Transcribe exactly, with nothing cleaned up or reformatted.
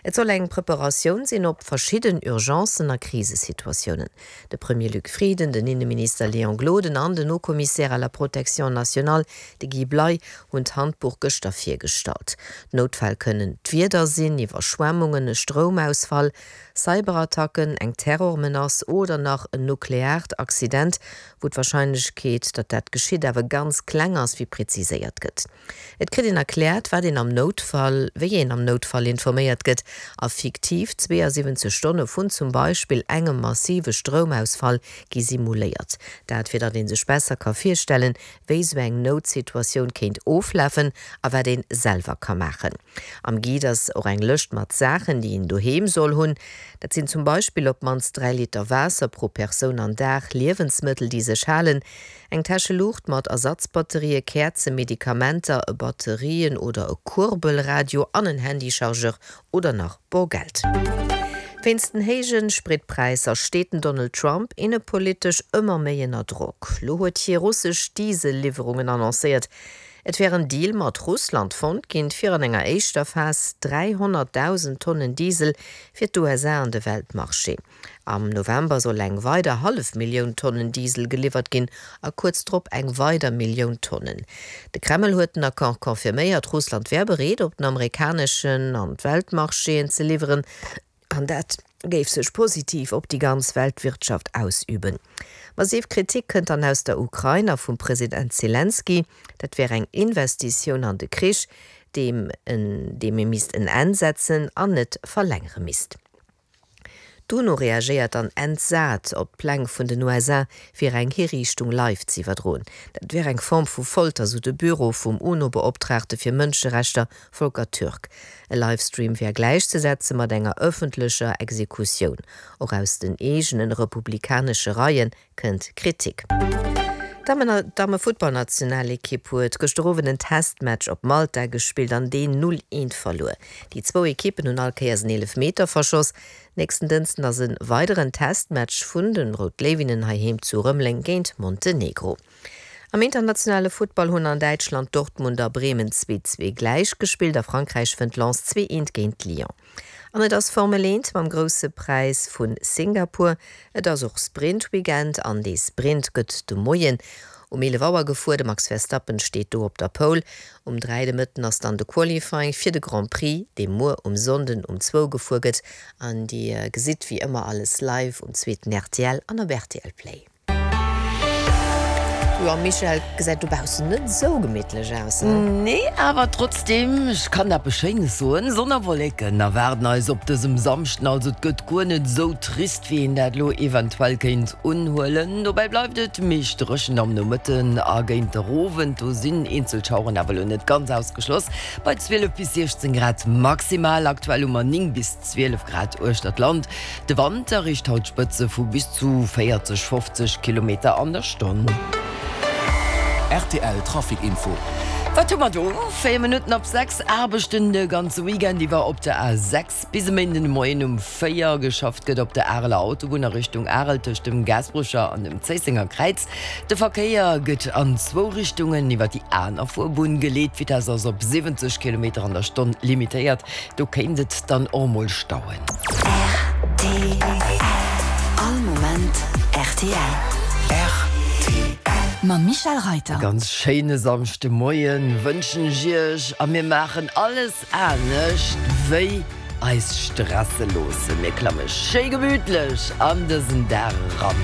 Et soll eng Preparatioun sinn op verschidden Urgencen a Krisesituatiounen. De Premier Luc Frieden, den Inneminister Léon Gloden an den Haut-Commissaire à la protection nationale, de Guy Bley, hunn d'Handbuch gëschter virgestallt. Noutfäll kënnen d'Wieder sinn, Iwwerschwemmungen, e Stroumausfall, Cyberattacken, eng Terrormenace oder nach en nukleaart Accident, wou d'Warscheinlechkeet, datt dat geschitt, awer ganz kleng ass, wéi preziséiert gëtt. Et kritt een erkläert, wat een am Noutfall, wéi een am Noutfall informéiert gëtt a fiktiv zweeësiwwenzeg Stonne vun zum Beispill engem massive Stroumausfall gi simuléiert. Dat fir datt ee sech besser ka virstellen, wéi sou eng Noutsituatioun kéint oflafen a wat ee selwer ka maachen. Am Guide ass och eng Lëscht mat Saachen, déi een doheem soll hunn. Dat sinn zum Beispill op d'mannst dräi Liter Waasser pro Persoun an Dag, Liewensmëttel, déi sech halen, eng Täscheluucht mat Ersatzbatterië, Käerzen, Medikamenter, e Batterien oder e Kuerbelradio an en Handychargeur oder nach Borgeld. Wéinst den héije Spritpräisser steet den Donald Trump innepolitesch ëmmer méi ënner Drock. Lo huet hie russesch Diesel-Liwwerungen annoncéiert. Et wär en Deal mat Russland fonnt ginn, fir an enger éischter Phas dräihonnertdausend Tonnen Diesel fir d'USA an de Weltmarché. Am November soll eng weider hallef Millioun Tonnen Diesel geliwwert ginn a kuerz drop eng weider Millioun Tonnen. De Kreml huet den Accord confirméiert, Russland wär bereet, op den amerikaneschen an d'Weltmarchéen ze liwweren. An dat géif sech positiv op déi ganz Weltwirtschaft ausüben. Massiv Kritik kënnt dann aus der Ukrain a vum President Selenskyj. Dat wär eng Investitioun an de Krich, deem deem ee misst en Enn setzen an net verlängere misst. D'UNO reagéiert dann entsat op d'Pläng vun den U S A fir eng Hiriichtung live ze iwwerdroen. Dat wär eng Form vu Folter, sou de Büro vum UNO-Beoptraagte fir Mënscherechter Volker Türk. E Livestream wär gläichzesetze mat enger ëffentlecher Exekutioun. Och aus den eegene republikanesche Reie kënnt Kritik. D'Damme-Futtballnationalekipp huet gëschter Owend en Testmatch op Malta gespillt an deen null eent verluer. Déi zwou Ekippen hunn all Kéiers en Eelefmeter verschoss. Nächsten Dënschden ass e weideren Testmatch vun den Rout Léiwinnen heiheem zu Rëmeleng géint Montenegro. Am internationale Futtball hunn an Däitschland Dortmund a Bremen zwee zwee gläich gespillt, a Frankräich wënnt Lens zwee eent géint Lyon. An et ass Formel eent mam Grousse Präis vu Singapur. Et ass och Sprint-Weekend an dee Sprint gëtt de Moien um eelef Auer gefuer. De Max Verstappen steet do op der Pole. Um dräi de Mëtten ass dann de Qualifying fir de Grand Prix, dee muer um Sonnden um zwou gefuer gëtt. An Dir gesitt wéi ëmmer alles live um zweeten R T L an op R T L Play. Jo Michèle, gesäit dobaussen net esou gemittlech aus, he? Nee, awer trotzdem, ech kann eppes Schéines soen, Sonn a Wolleken erwaarden eis op dësem Samschden, also et gëtt guer net esou trist, wéi een dat elo eventuell kéint unhuelen. Dobäi bleift et meescht dréchen am Nomëtten a géint de Owend, do sinn eenzel Schaueren awer elo net ganz ausgeschloss, bei zwielef bis siechzéng Grad maximal. Aktuell hu mer néng bis zwielef Grad uechter d'Land. De Wand erreecht haut Spëtze vu bis zu véierzeg, fofzeg Kilometer an der Stonn. R T L Trafic Info. Wat hu mer do? Véier Minutten op sechs. Aarbechten de ganze Weekend iwwer op der A sechs bis e Méinden de Moien um véier. Geschafft gëtt op der Areler Autobunn a Richtung Arel tëscht dem Gaasperecher an dem Zéissenger Kräiz. De Verkéier gëtt an zwou Richtungen iwwer déi aner Fuerbunn geleet. D'Vitess ass op siwwenzeg Kilometer an der Stonn limitéiert. Do kéint et dann och mol stauen. R T L. All Moment R T L. R T L. Mam Michèle Reyter. E ganz schéine Samschdemoien wënschen ech iech a mir maachen alles anescht wéi eis stresse loossen. Mir klamme schéi gemütlech an dësen Dag eran.